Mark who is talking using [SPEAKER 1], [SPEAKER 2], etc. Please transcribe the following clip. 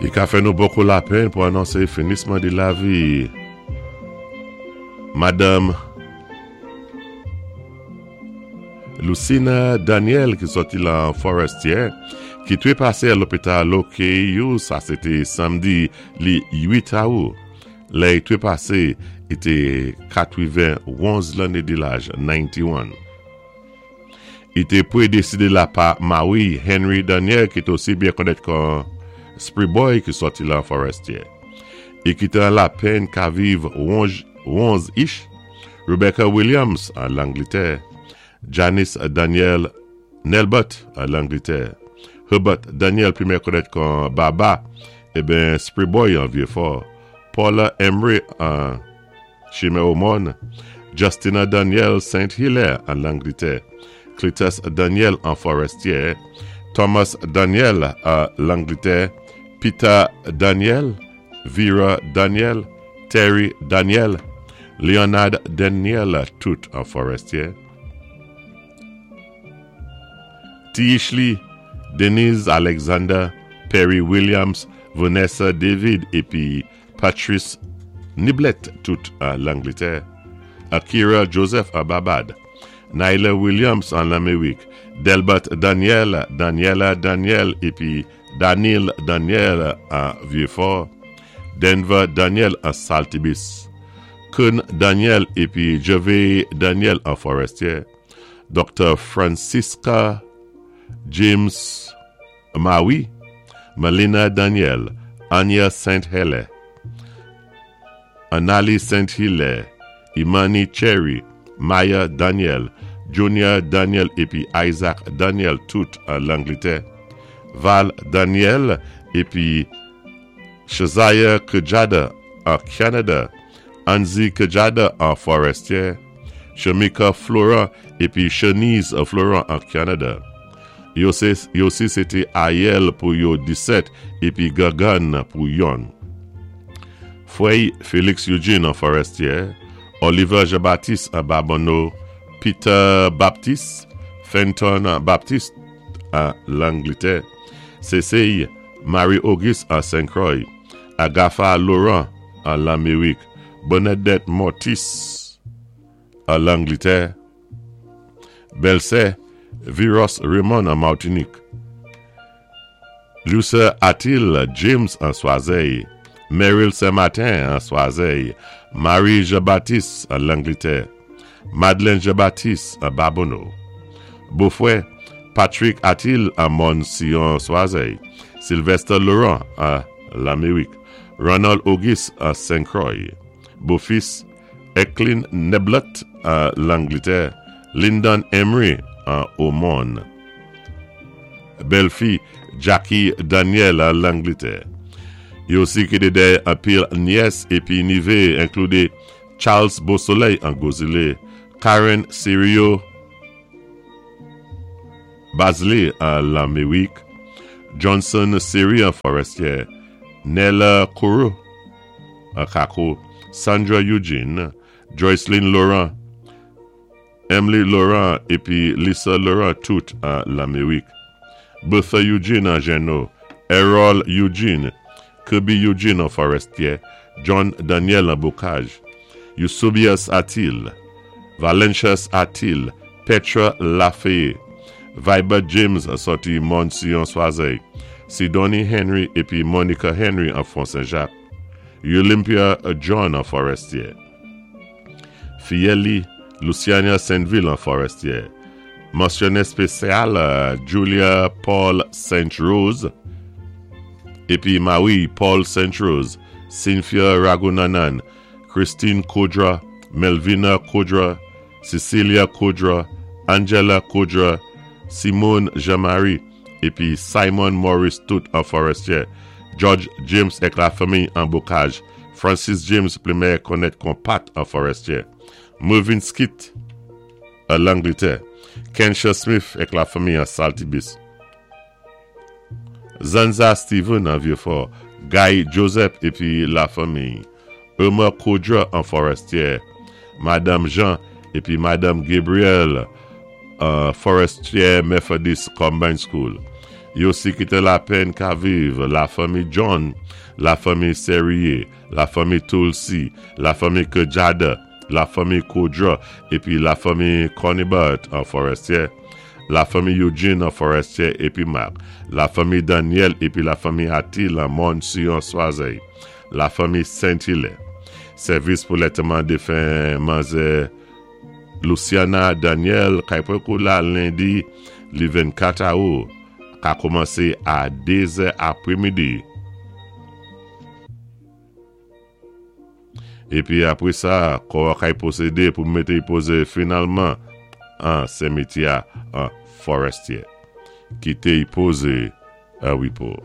[SPEAKER 1] I ka fè nou bokou lapenn pou anonsé finisman di lavi Madanm Lucina Daniel ki sòti lan Forestier ki trepasé a lopital OKU sa sé té samdi li 8 Awou. Lè i trepasé i té 91 lanné di laj, 91. I té pwédésé la pa mawi Henry Daniel ki té osi byen konnèt kon Spri Boy ki sòti lan Forestier. I kité an lapenn ka viv wonz ich, Rebecca Williams an Langlitè, Janice Daniel Nelbert an Langlitè, Herbert Daniel pi mè konnèt kon Baba eben Spri Boy an Vyefò, Paula Emery an. Chimè Omòn, Justina Daniel Saint Hilaire an Langlitè, Cletus Daniel an Forestier, Thomas Daniel an Langlitè, Peter Daniel, Vera Daniel, Terry Daniel, Leonard Daniel tout an Forestier. Ti Ishley, Denise Alexander, Perry Williams, Vanessa David épi Patrice Niblett tout an Langletè, Akira Joseph an Babad, Nyla Williams an Lamerik, Delbert Daniel, Daniella Daniel épi Danil Daniel an Vyefò, Denver Daniel an Saltibis, Kern Daniel épi Gervais Daniel an Forestier, Doktè Francisca James Mawi, Melina Daniel, Anya Saint Hele, Anali Saint Hilaire, Imani Cherry, Maya Daniel, Junior Daniel épi Isaac Daniel tout an Langletè, Val Daniel épi Shaziah Kejada an Canada, Anzi Kejada an Forestier, Shamika Florent épi Shanice Florent an Canada. Yo sé yo si sé té Ayèl pou yo 17 épi Gangan pou yonn. Frè Félix Eugene an Forestier, Oliver Jean-Baptiste an Babonneau, Peter Baptiste, Fenton Baptiste an Langletè, Cécile Marie Auguste an Saint-Croix, Agatha Laurent an Lamerik, Bernadette Mortis an Langletè, Bèlsè Viros Raymond an Martinik, Lucer Atil James an Swazèy, Meryl Saint Martin an Swazèy, Marie Jean Baptiste an Langletè, Madeleine Jean Baptiste an Babonneau, Bofrè Patrick Atil an Mòn Siyon Swazèy, Sylvester Laurent an Lamerik, Ronald Auguste an Sen Croix, Bofis Eklin Neblett an Langletè, Lyndon Emery an Omòn, bèlfi Jackie Daniel an Langletè. Yo osi kite dèyè anpil nyès epi nive enklude Charles Beausoleil an Gwozile, Karen Sirio Bazley an Lamerik, Johnson Siri an Forestier, Nella Kourou an Kako, Sandra Eugene, Joyceline Laurent, Emily Laurent épi Lisa Laurent tout an Lamerik, Bertha Eugene an Jenno, Errol Eugene, Kirby Eugene an Forestier, John Daniel an Bocage, Eusebius Atil, Valentius Atil, Petra Lafayette, Vibert James sòti Mòn Siyon Swazèy, Sidonie Henry épi Monica Henry an Fon Sen-Jak, Olympia John an Forestier, Fiyèl li, Luciania Saintville an Forestier, Mansyone spesyal Julia Paul Saint Rose épi Marie Paul Saint Rose, Cynthia Ragunanan, Christine Kudra, Melvina Kudra, Cecilia Kudra, Angela Kudra, Simone Jean-Marie épi Simon Maurice tout an Forestier, George James èk lafanmiy an Bocage, Francis James pli mèyè konnèt kon Pat an Forestier, Mervyn Skit an Langletè, Kensha Smith èk lafanmiy an Saltibus, Zanza Steven an Vieux-Fort, Guy Joseph épi lafanmiy, Irma Kudra an Forestier, Madanm Jean épi Madanm Gabriel an Forestier Methodist Combined School, Yo osi kité lapenn ka viv lafanmi John, lafanmi Serrier, lafanmi Tulsi, lafanmi Kejada, lafanmi Koudra épi lafanmi Cornibert an Forestier, lafanmi Eugene an Forestier épi Marc, lafanmi Daniel épi lafanmi Atil an Mòn Siyon Swazèy, lafanmi Saint-Hilaire. Sèvis pou lantèman défen manzè Luciana Daniel kay pran kou la lendi li 24 awou ka koumansé a 2 zè apremidi. Épi apwé sa, kò a kay pwosédé pou mété-y pozé finalman an senmityè an Forestier. Kité-y pozé an wipo.